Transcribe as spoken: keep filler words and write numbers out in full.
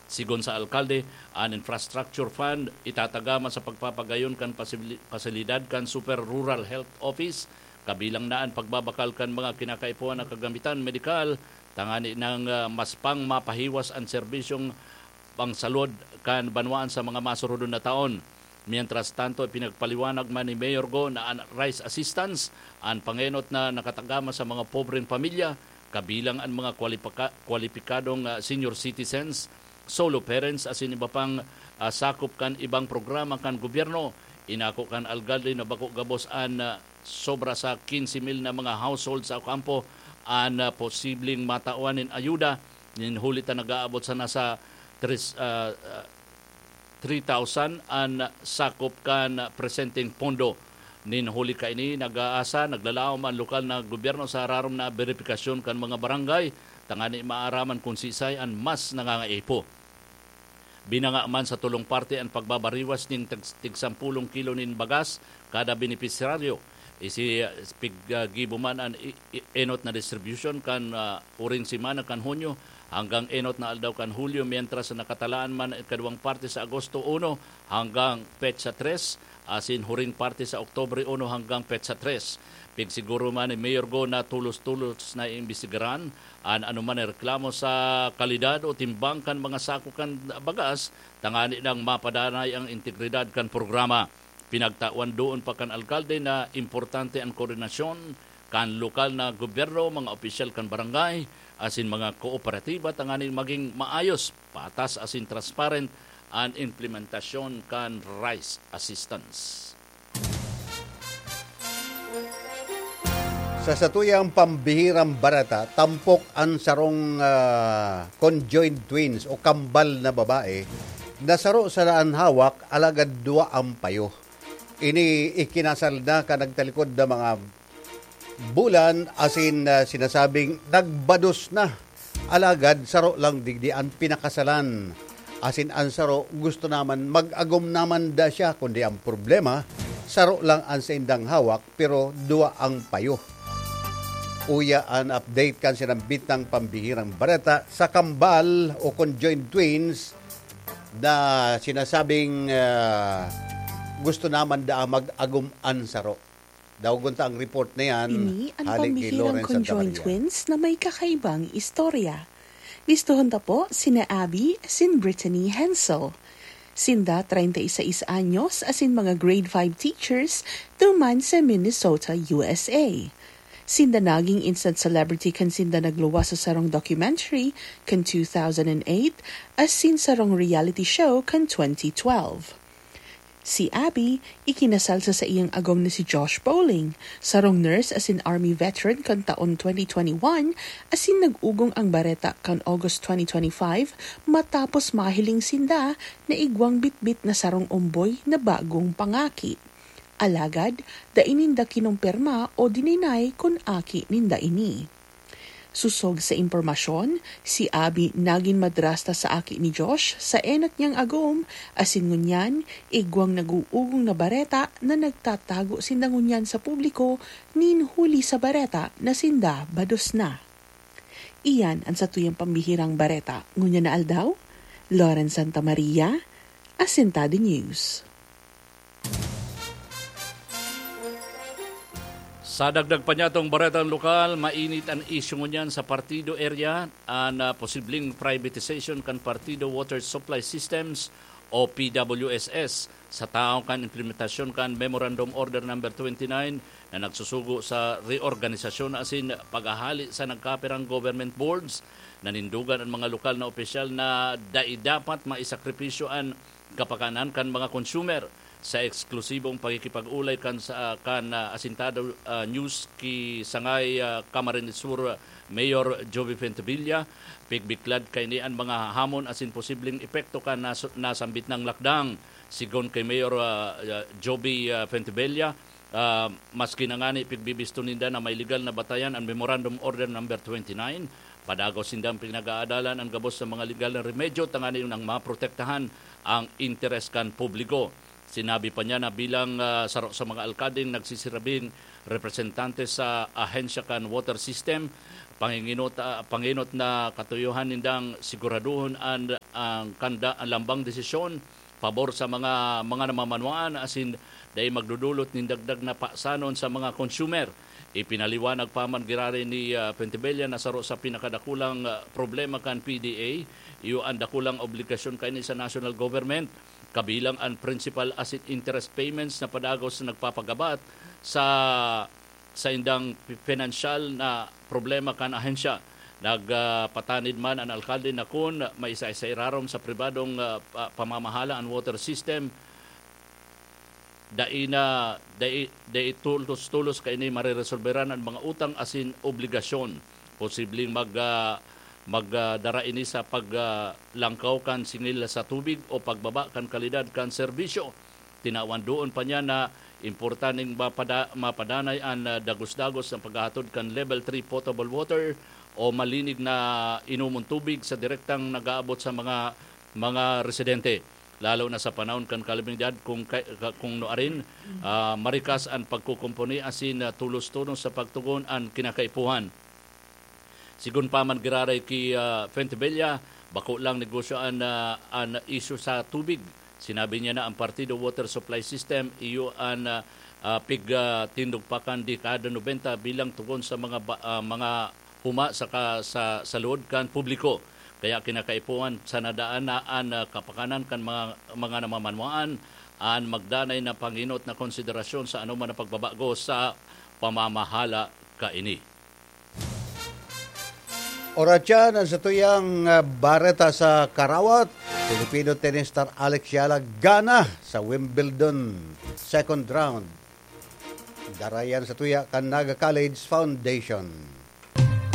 Sigon sa alkalde, an infrastructure fund itatagama sa pagpapagayon kan pasibli-, pasilidad kan Super Rural Health Office, kabilang na an pagbabakal kan mga kinakaipuhan na kagamitan medikal, tangani nang, ah, mas pang mapahiwas an serbisyong pangsalud kan banwaan sa mga masurodon na taon. Mientras tanto, ipinagpaliwanag man ni Mayor Go na an rice assistance an pangenot na nakatagama sa mga pobreng pamilya, kabilang an mga kwalipaka-, kwalipikadong, ah, senior citizens, solo parents, asin iba pang, ah, sakop kan ibang programa kan gobyerno. Inako kan alkalde na bako gabos an, ah, sobra sa quince mil na mga household sa Ocampo an, ah, posibleng matawan nin ayuda, nin huli ta nag-aabot sana sa tres, ah, ah, three thousand an sakop kan presenteng pondo. Nin huli kaini, nag-aasa, naglalaom an lokal na gobyerno sa rarom na beripikasyon kan mga barangay, tangani maaraman kun sisay an mas nangangaipo. Binanga man sa tulong parte an pagbabariwas nin tag-, tig sampulong kilo nin bagas kada benepisyaryo. Isi, ah, pig, ah, gibo man an i-, i-, enot na distribution kan, ah, uring semana kan Hunyo hanggang enot na aldaw kan Hulyo, mientras na nakatalaan man an ikaduwang parte sa Agosto uno hanggang petsa tres, asin huring parte sa Oktubre uno hanggang petsa tres. Pigsiguro man ni Mayor Go na tulos-tulos na iimbestigaran an anoman na reklamo sa kalidad o timbang kan mga sako kan bagas, tangani nang mapadanay ang integridad kan programa. Pinagtawan doon pa kan alkalde na importante an koordinasyon kan lokal na gobyerno, mga opisyal kan barangay, asin mga kooperatiba, tanganing magin maayos, patas asin transparent an implementasyon kan rice assistance. Sa satuyang pambihirang bareta, tampok an sarong, ah, conjoined twins o kambal na babae na saro sana an hawak, alagad duwa ang payo. Ini ikinasal na kan nagtalikod na mga bulan, asin, ah, sinasabing nagbados na. Alagad saro lang digdi an pinakasalan. Asin an saro gusto naman mag-agom naman da siya, kundi ang problema, saro lang an saindang hawak, pero duwa ang payo. Uya an update kan sinambitang pambihirang bareta sa kambal o conjoined twins na sinasabing, ah, gusto naman da mag-agom an saro. Daogon ta ang report na yan. Ini an Hali kay pambihirang Lawrence Santa conjoined Maria. Twins na may kakaibang istorya. Listohon ta po sina Abby asin Brittany Hensel. Sinda, treinta y seis anyos, asin mga grade five teachers duman sa Minnesota, U S A. Sinda naging instant celebrity kan sinda nagluwas sa sarong documentary kan two thousand eight asin sarong reality show kan twenty twelve. Si Abby ikinasal sa saiyang agom na si Josh Bowling, sarong nurse asin army veteran kan taon twenty twenty-one, asin nag-ugong ang bareta kan August twenty twenty-five, matapos mahiling sinda na igwang bitbit na sarong omboy na bagong pangaki. Alagad, dai ninda kinumpirma o dininay kun aki ninda ini. Sosog sa impormasyon, si Abby nagin madrasta sa aki ni Josh sa enot niyang agom, asin ngunyan, igwang nag-uugong na bareta na nagtatago sinda ngunyan sa publiko nin huli sa bareta na sinda bados na. Iyan an satuyang pambihirang bareta ngunyan na aldaw. Lauren Santa Maria, Asintado News. Sa dagdag pa niyatong baretang lokal, mainit an isyu ngunyan sa partido area, an, ah, posibleng privatization kan partido water supply systems o P W S S sa tahaw kan implementasyon kan Memorandum Order Number twenty-nine na nagsusugo sa reorganisasyon asin paghahali sa nagkapirang government boards. Nanindogan an mga lokal na opisyal na dai dapat maisakripisyo an kapakanan kan mga consumer. Sa eksklusibong pakikipag-ulay kan sa, kan, ah, Asintado, ah, News ki Sangay, ah, Camarines Sur, ah, Mayor Joby Fentevilla, pigbiklad kaini an mga hamon asin posibleng epekto kan nas-, nasambit nang lakdang. Sigon kay Mayor, ah, ah, Joby, ah, Fentevilla, ah, maski na ngani pigbibisto ninda na may legal na batayan an Memorandum Order Number twenty-nine, padagos nindang pinag-aadalan an gabos sa mga legal na remedyo tanganing maprotektahan ang interes kan publiko. Sinabi pa niya na bilang, ah, saro sa mga alkadeng nagsisirabing representante sa ahensya kan water system, panginginot, ah, panginot na katuyohan nindang siguraduhon an, ang kanda, ang lambang desisyon pabor sa mga, mga namamanwaan, asin dai magdudulot nin dagdag na pasanon sa mga consumer. Ipinaliwanag pa man giraray ni, ah, Pentebella na saro sa pinakadakulang, ah, problema kan P D A, iyo an dakulang obligasyon kaini sa national government, kabilang an principal asin interest payments na padagos na nagpapagabat sa saindang pi-, pinansyal na problema kan ahensya. Nagpatanid man an alkalde na kun maisa-isa irarom sa pribadong, ah, pa-, pamamahala an water system, dai na, dai, dai tulos-tulos kaini mareresolberan an mga utang asin obligasyon. Posibleng mag, ah, magdara ini sa pag, ah, langkaw kan singil sa tubig o pagbaba kan kalidad kan serbisyo. Tinawan doon pa niya na importanteng mapada-, mapadanay an, ah, dagos-dagos na paghahatod kan Level three potable water o malinig na inomon tubig sa direktang nag-aabot sa mga, mga residente, lalo na sa panahon kan kalamidad, kung kay-, ka-, kung nuarin, ah, marikas an pagkukumpuni asin, ah, tulos-tulos sa pagtugon an kinakaipuhan. Sigon pa man giraray ki, ah, Fuentebella, bako lang negosyo an, ah, an isyu sa tubig. Sinabi niya na ang Partido Water Supply System iyo an, ah, ah, pig, ah, tindog pa kan dekada nobenta bilang tugon sa mga ba-, ah, mga huma sa ka-, sa, sa loob kan publiko. Kaya kinakaipuhan sana daan na an, ah, kapakanan kan mga, mga namamanwaan an magdanay na panginot na konsiderasyon sa anoman na pagbabago sa pamamahala kaini. Oratyan ang satuyang, ah, bareta sa karawat. Filipino tennis star Alex Yala gana sa Wimbledon second round. Darayan sa tuya kan Naga College Foundation.